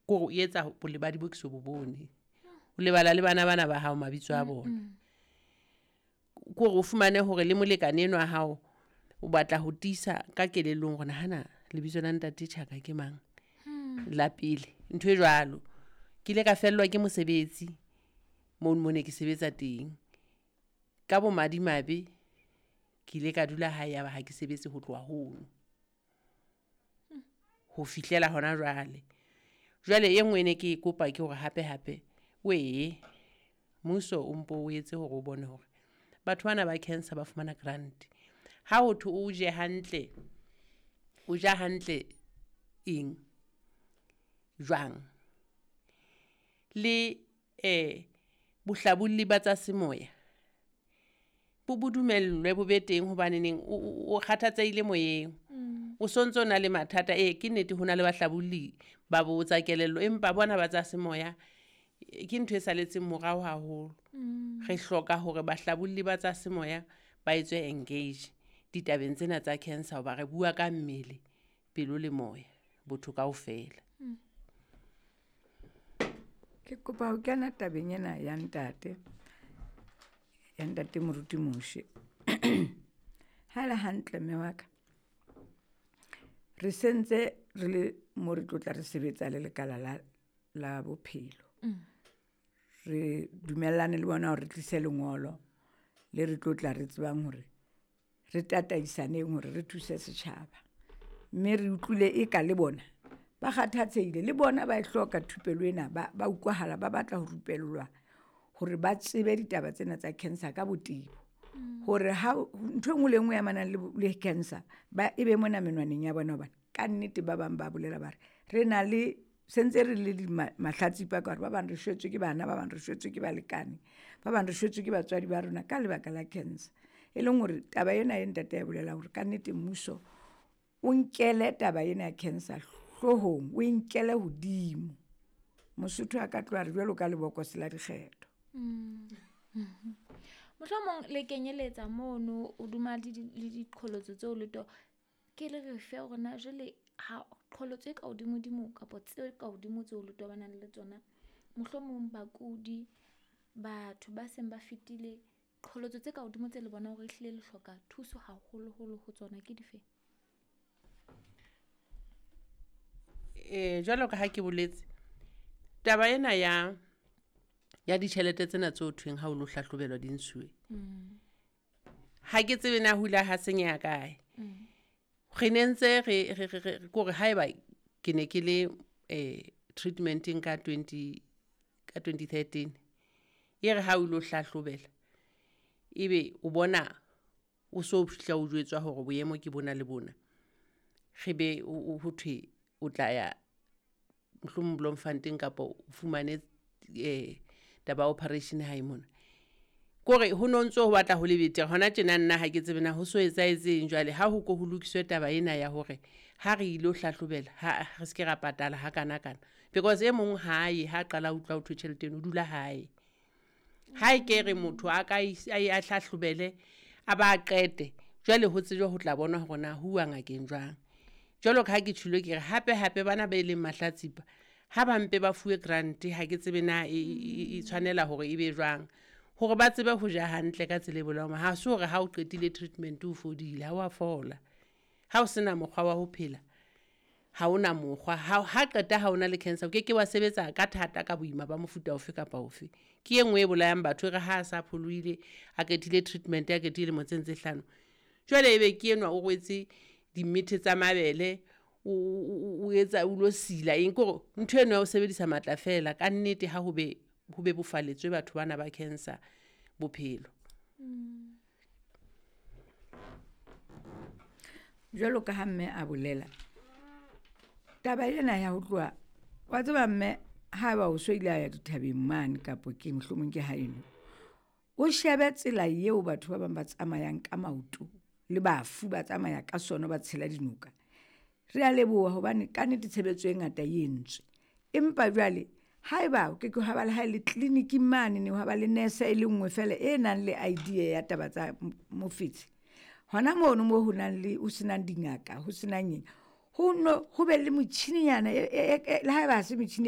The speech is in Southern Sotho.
Kore o etsa bolebadi bo ke so bo bone. O lebala le bana bana ba hao mabitso a bona. Kore o fumane hore le molekane enwa wa hao o batla ho tiisa ka kelellong hore nahana lebitso la ntate Tjhaka ke mang la pele. Ntho e jwalo. Ke ile ka fellwa ke mosebetsi mono mo ne ke sebetsa teng. Ka bomadimabe, ke ile ka dula hae ya ba ha ke sebetse ho tloha hono. Ho fihlela hona jwale. Jwale e nngwe e ne ke e kopa ke hore hape hape wee mmuso o mpo o etse hore o bone hore batho bana ba cancer ba fumana grant. Ha ho thwe o je hantle, o ja hantle eng, jwang? Le bohlabolli ba tsa semoya bo dumellwe bo be teng hobaneneng o kgathatsehile moyeng. O sontso o na le mathata. Ee, ke nnete ho na le bahlabolli ba bo tsa kelello, empa bona ba tsa semoya ke ntho e salletseng morao haholo. Re hloka hore bahlabolli ba tsa semoya ba etswe engage ditabeng tsena tsa cancer hoba re bua ka mmele, pelo le moya, botho kaofela. Ke kopa ho kena tabeng ena ya ntate, ya ntate Moruti Moshe. Ha le hantle mme wa ka, re sentse re le mo re tlotla re sebetsa le lekala la bophelo. Re dumellane le bona hore re tlise lengolo le re tlotla re tsebang hore re tataisaneng hore re thuse setjhaba. Mme re utlwile e ka le bona ba kgathatsehile, le bona ba e hloka thupelo ena. Ba utlwahala, ba batla ho rupellwa hore ba tsebe ditaba tsena tsa cancer ka botebo. Hore ha ntho e nngwe le e nngwe e amanang le cancer, ba e be mona menwaneng ya bona hobane kannete ba bang ba bolela ba re, re na le sentse re le mahlatsipa ka hore ba bang re shwetswe ke bana, ba bang re shwetswe ke balekane, ba bang re shwetswe ke batswadi ba rona ka lebaka la cancer. E leng hore taba ena e ntate ae bolelang hore kannete mmuso o nkele taba ena ya cancer hloohong, o nkele hodimo. Mosotho a ka tloha re jwalo ka lebokose la dikgetho. Mohlomong le kenyeletsa mono hodima le diqholotso tseo le to ke le re fe hore na jwale ha qholotso e ka hodimo-dimo kapa tse ka hodimo tseo le tobanang le tsona. Mohlomong bakudi, batho ba seng ba fetile qholotso tse ka hodimo tse le bonang hore ehlile le hloka thuso haholoholo ho tsona ke dife? Jwalo ka ha ke boletse, taba ena ya ditjhelete tsena tse ho thweng ha o lo hlahlobelwa di ntshuwe. Ha ke tsebe na ho ile ha senyeha kae. Re ne ntse re kore haeba ke ne ke le treatment-eng ka 2013. E re ha o lo hlahlobela, ebe o bona o so fihla o jwetswa hore boemo ke bona le bona. Re be ho thwe o tla ya mohlomong Bloemfontein kapa o fumane taba ya operation hae mona. Kore ho no ntso ho batla ho le betere. Hona tjena nna ha ke tsebe na ho so etsahetseng jwale ha ho ko ho lokiswe taba ena ya hore ha re ilo hlahlobela ha re se ke ra patala ha kana kana. Because e mong hae ha qala utlwa ho thwe tjhelete eno o dula hae. Ha e ke re motho a ka a hlahlobele a ba qete. Jwale ho tsejwe ho tla bona hore na ho uwa ngakeng jwang. Jwalo ka ha ke tjholo ke re hape hape bana ba e leng mahlatsipa ha ba mpe ba fuwe grant ha ke tsebe na e tshwanela hore e be jwang. Hore ba tsebe ho ja hantle ka tsela e bolelang. Ha se hore ha o qetile treatment o fodile, ha wa fola. Ha o sena mokgwa wa ho phela, ha ona mokgwa. Ha qeta ha ona le cancer, o keke wa sebetsa ka thata ka boima ba mofuta ofe kapa ofe. Ke e nngwe e bolayang batho e re ha a sa pholohile, a qetile treatment, a qetile dilemo tse hlano. Jwale ebe ke enwa o rwetse dimmethe tsa mabele, o etsa o lo sila eng kore ntho eno ya ho sebedisa matla fela. Ka nnete ha ho be ho bebofaletswe batho bana ba cancer bophelo. Jwalo ka ha mme a bolela, taba ena ya ho tloha, wa tseba mme ha eba o so ile a ya dithabeng mane kapo ke mohlomong ke haeno. O shebe tsela eo batho ba bang ba tsamayang ka maoto le bafu ba tsamaya ka sona ba tshela dinoka. Re a leboha hobane kannete tshebetso e ngata e entswe. Empa jwale haeba ke ke ha ba le ha le clinic-ing mane ha ba le nurse e le nngwe fela e nang le idea ya taba tsa mofetshe. Hona mono moo ho nang le ho senang dingaka, ho senang eng, ho no ho be le motjhininyana le haeba ha se metjhini e